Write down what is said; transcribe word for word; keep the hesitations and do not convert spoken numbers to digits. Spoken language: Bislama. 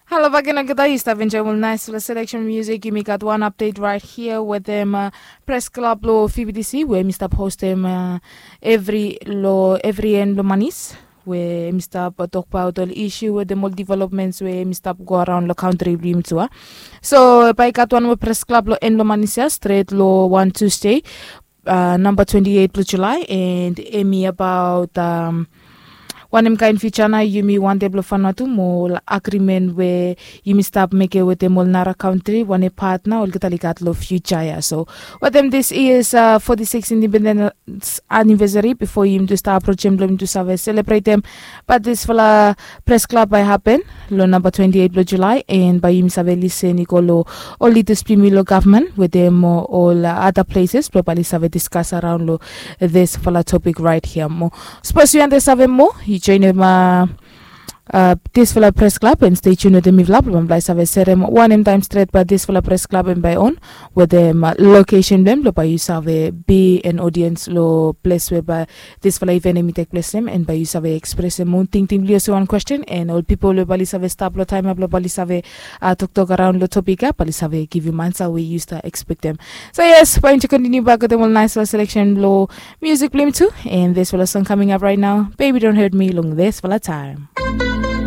Halo bagen olgeta, yu stap enjoim ol naisfala seleksen musik. Yumi gat wan apdet rait hia wetem pres klab long fibidisi we mi stap hostem evri long evri en blong manis, we mi stap tokbaot ol isu wetem ol developments we mi stap go araon long kantri blong yumi tu a. So bai i gat wan moa pres klab long en blong manis ya stret long wan tusde, namba twenti eit blong julai, and em i abaot wanem kain fiuja nao yumi wantem blong faendaot tu mo ol agrimen we yumi stap mekem wetem ol nara kantri, wanem pat nao olgeta oli gat long fiuja ya. So wetem this is foti sikis independens anivesari, bifo yumi tu stap aprojem blong yumi tu save selebretem, bat disfala pres klab bai hapen long namba twenti eit blong julai, and bai yumi save lisen i go long ol lidas blong yumi long gavman wetem ol ada pleses blong bai oli save diskas araon long disfala topik rait hia. Mo sapos yu wantem save moa, yu joinim disfala pres klab and stei tun wetem mifala blong bai save serem wanem taem stret bai disfala pres klab em bai on, wetem lokesen blong em blong bai yu save bi an odiens long ples we bai disfala iven em i tek ples long em, and bai yu save ekspresem ol tingting blong yu olsem wan kwesten, and ol pipol we bai oli save stap long taem ya blong bai oli save toktok araon long topik ya bai oli save givim ansa we yu stap ekspektem. So yes, bai yumi tu kontiniu bak wetem ol naisfala seleksen blong musik blong yumi tu, and disfala song kaming ap rait nao, Baby Don't Hurt Me, long disfala taem.